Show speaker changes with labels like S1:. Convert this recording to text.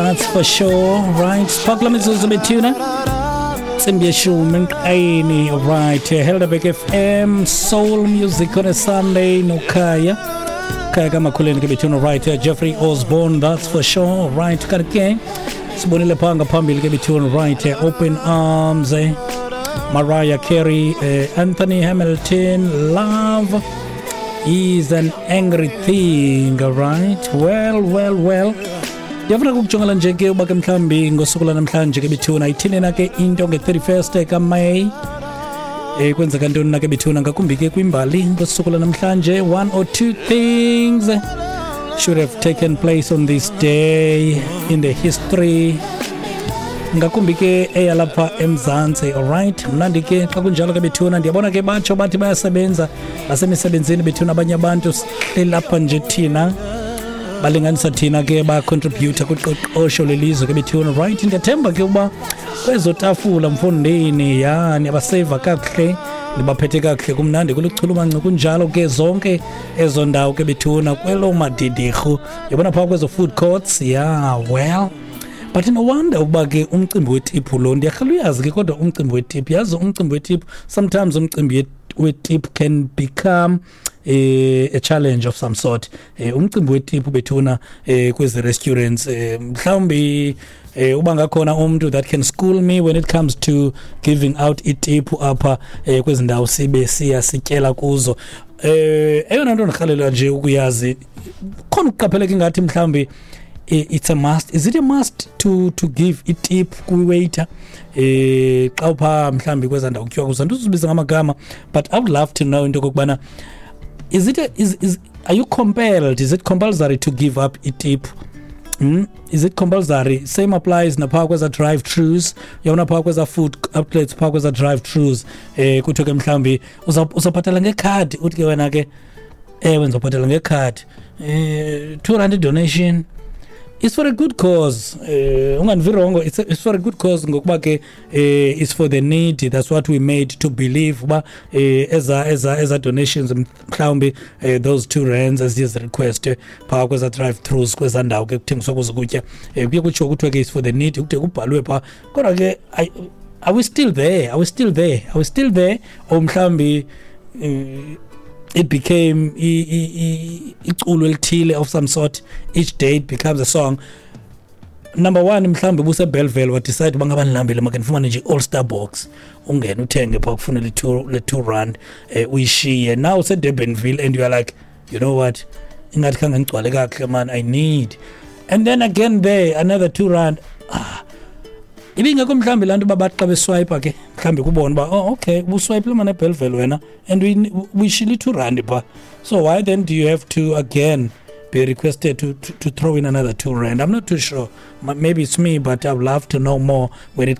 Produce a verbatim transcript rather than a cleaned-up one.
S1: That's for sure, right? Sipha mizuzu bethuna. Intsimbi yeshumi emqayeni, right? Helderberg F M, soul music on a Sunday noKhaya. Khaya kaMakhuleni ke bethuna, right? Jeffrey Osborne, that's for sure, right? Kanti ke sibonile phaa ngaphambili ke bethuna, right? Open Arms, eh? Mariah Carey, uh, Anthony Hamilton, Love is an Angry Thing, right? Well, well, well. Ndiyafuna ukujongela nje ke uba ke mhlawumbi ngosuku lwanamhlanje ke bethuna ithini na ke into nge-thirty-first kaMeyi, eh kwenzeka ntoni na ke bethuna, ngakumbi ke kwimbali ngosuku lwanamhlanje. One or two things should have taken place on this day in the history, ngakumbi ke eyalapha eMzantsi. Alright, mnandi ke xa kunjalo ke bethuna. Ndiyabona ke batsho bathi bayasebenza, basemisebenzini bethuna abanye abantu. Sihleli lapha nje thina, balinganisa thina ke, bacontributa kuqoqosho lelizwe ke bethuna, right? Ndiyathemba ke uba kwezo tafula, mfondini, ya niyabaseva kakuhle, nibaphethe kakuhle, kumnandi, kuluchulumanco kunjalo ke zonke ezo ndawo ke bethuna, kwelo madidirhu yabona phaa kwezo food courts. Yeah, well, but no wonder ukuba ke umcimbi wetiphu lo, ndiyarhala uyazi ke, kodwa umcimbi wetiphu, yazi, umcimbi wetiphu, sometimes umcimbi wetiphu can become eh, a challenge of some sort. eh, umcimbi wetiphu bethuna, eh, kwezi restaurants, eh, mhlawumbi eh, uba ngakhona umuntu that can school me when it comes to giving out itiphu apha eh, kwezi ndawo sibe siya sityela kuzo. eh eyona nto ndirhalela nje ukuyazi khona, ukuqapheleka ingathi mhlawumbi it's a must. Is it a must to to give itip kwi-waiter eh xa upha mhlawumbi kwezaa ndawo kutyiwa kuzo? Andizubiza ngamagama, but I would love to know into okokubana is it a, is, is are you compelled, is it compulsory to give up itip? Mm? Is it compulsory? Same applies naphaa kweza drive throughs, yabona, phaa kweza food outlets, phaa kweza drive throughs, eh kuthiwe ke mhlawumbi uzawubhatala ngekhadi, uthi ke wena ke, ewe, ndizawubhatala ngekhadi, eh two rand donation. It's for a good cause, eh ungandivi wrong, it's, it's for a good cause, ngokuba ke eh it's for the needy. That's what we made to believe, uba eh eza eza eza donations, mhlawumbi eh, those two rands as is request phaa kweza drive throughs, kweza ndawo ke kuthengiswa kuzo kutya, eh kuye kutshiwo kuthiwe ke it's for the needy, kude kubhalwe phaa. Kodwa ke are we still there? Are we still there? Are we still there? Or mhlawumbi eh, it became iculo elithile of some sort, each day it becomes a song. Number one, mhlawumbi buse-Bellville, wadecide uba ngaba ndilambile, make ndifumane nje i-All Star box, ungene uthenge phaa, kufune le two, le two rand, eh, uyishiye. Now useDurbanville and you are like, "You know what, ingathi khange ngigcwale kakuhle man, I need," and then again there, another two rand. Ah, ibingekho mhlawumbi laa nto uba bathi xa beswipa ke mhlawumbi kubona uba, oh okay, ubuswayipile mane eBellville wena and uyishile i-two rand phaa, so why then do you have to again be requested to, to, to throw in another two rand? I'm not too sure. Maybe it's me, but I'd love to know more when it